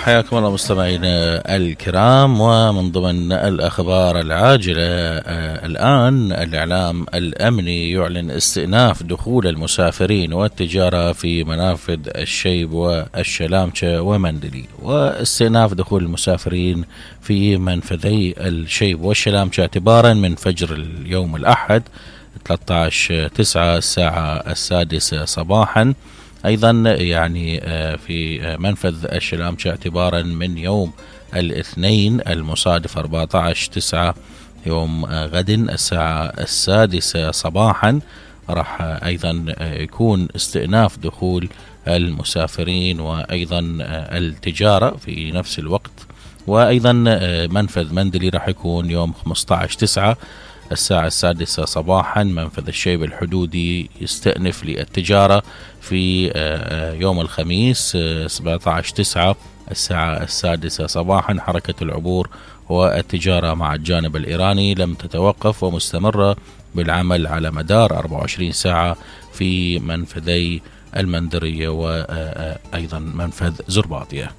حياكم الله مستمعينا الكرام، ومن ضمن الأخبار العاجلة الآن الإعلام الأمني يعلن استئناف دخول المسافرين والتجارة في منافذ الشيب والشلامشة ومندلي. واستئناف دخول المسافرين في منفذي الشيب والشلامشة اعتبارا من فجر اليوم الأحد 13/9 الساعة 6 صباحا. أيضا يعني في منفذ الشلامشة اعتبارا من يوم الاثنين المصادف 14/9 يوم غد الساعة 6 صباحا راح أيضا يكون استئناف دخول المسافرين وأيضا التجارة في نفس الوقت. وأيضا منفذ مندلي راح يكون يوم 15/9 الساعة 6 صباحا. منفذ الشيب الحدودي يستأنف للتجارة في يوم الخميس 17/9 الساعة 6 صباحا. حركة العبور والتجارة مع الجانب الإيراني لم تتوقف ومستمرة بالعمل على مدار 24 ساعة في منفذي المندرية وأيضا منفذ زرباطية.